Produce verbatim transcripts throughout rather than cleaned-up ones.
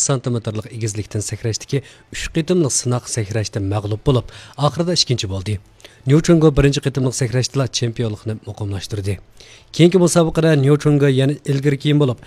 سانتىمېتىرلىق ئېگىزلىكتىن سەكرەشتىكى ئۈچ قېتىملىق سىناق سەكرەشتە مەغلۇپ بولۇپ، ئاخىرىدا ئىككىنچى بولدى. نيۇ چونگو بىرىنچى قېتىملىق سەكرەشتىلا چېمپىيونلۇقنى مۇقىملاشتۇردى. كېيىنكى مۇسابىقىدە نيۇ چونگو يەنە ئىلگىرى كېيىن بولۇپ،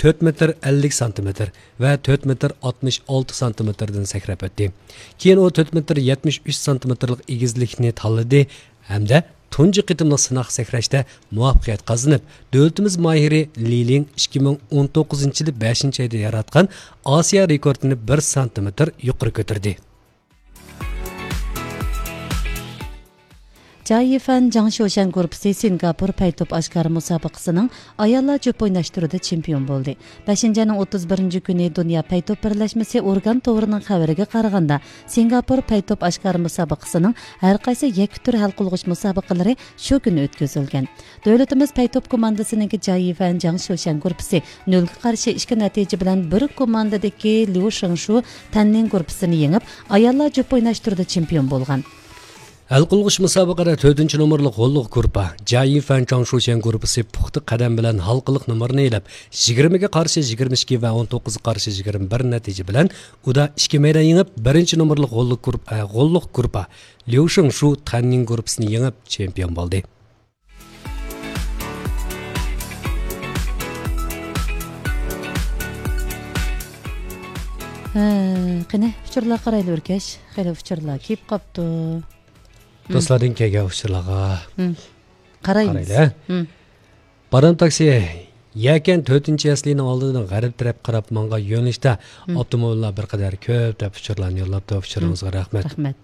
تۆت مېتىر ئەللىك سانتىمېتىر ۋە تۆت مېتىر ئاتمىش ئالتە سانتىمېتىردىن سەكرەپ ئۆتتى. كېيىن ئۇ تۆت مېتىر يەتمىش ئۈچ سانتىمېتىرلىق ئېگىزلىكنى تاللىدى ھەمدە تۇنجى قېتىملىق سىناق سەكرەشتە مۇۋەپپەقىيەت قازىنىپ، دۆلىتىمىز ماھىرى لى لىڭ ئىككى مىڭ ئون توققۇزىنچى يىلى بەشىنچى ئايدا ياراتقان ئاسىيا رېكورتىنى بىر سانتىمېتىر يۇقىرى كۆتۈردى. جاي يىفەن جاڭ شيۇشەن گۇرۇپپىسى سىنگاپور پەيتوپ ئاشكارا مۇسابىقىسىنىڭ ئاياللار جۈپ ئويناش تۈرىدە چېمپىيون بولدى. بەشىنچى ئاينىڭ ئوتتۇز بىرىنچى كۈنى دۇنيا پەيتوپ بىرلەشمىسى ئورگان توۋىرىنىڭ خەۋىرىگە قارىغاندا، سىنگاپور پەيتوپ ئاشكارا مۇسابىقىسىنىڭ ھەر قايسى يەككە تۈر ھەل قىلغۇچ مۇسابىقىلىرى شۇ كۈنى ئۆتكۈزۈلگەن. دۆلىتىمىز پەيتوپ كوماندىسىنىڭكى جاي يىفەن جاڭ شيۇشەن گۇرۇپپىسى نۆلگە قارشى ئىككى نەتىجە بىلەن بىر كوماندىدىكى ليۇ شېڭشۇ تەننىڭ گۇرۇپپىسىنى يېڭىپ، ئاياللار جۈپ ئويناش تۈرىدە چېمپىيون بولغان. ھەل قىلغۇچ مۇسابىقىدە تۆتىنچى نومۇرلۇق غوللۇق گۇرۇپپا، جاي يىفەن جاڭ شيۇشەن گۇرۇپپىسى پۇختا قەدەم بىلەن ھالقىلىق نومۇرنى ئېلىپ، يىگىرمىگە قارشى يىگىرمە ئىككى ۋە ئون توققۇزغا قارشى يىگىرمە بىر نەتىجە بىلەن ئۇدا ئىككى مەيدان يېڭىپ، بىرىنچى نومۇرلۇق غوللۇق گۇرۇپ-، ئە، غوللۇق گۇرۇپپا ليۇ شېڭشۇ تەننىڭ گۇرۇپپىسىنى يېڭىپ، چېمپىيون بولدى. ھە، قېنى، ئۇچۇرلارغا قارايلى، ئۆركەش. خېلى ئۇچۇرلار كېلىپ قاپتۇ. دوستلاردىن كەلگەن ئۇچۇرلارغا ھىم. قارايمىز. قارايلى، ھە؟ ھىم. بارام تاكسى، يەكەن تۆتىنچى يەسلىنىڭ ئالدىدىن غەرب تەرەپ قاراپ ماڭغان يۆنىلىشتە ھىم. ئاپتوموبىللار بىر قەدەر كۆپ دەپ ئۇچۇرلارنى يوللاپتۇ. ئۇچۇرىڭىزغا ھىم. رەھمەت. رەھمەت.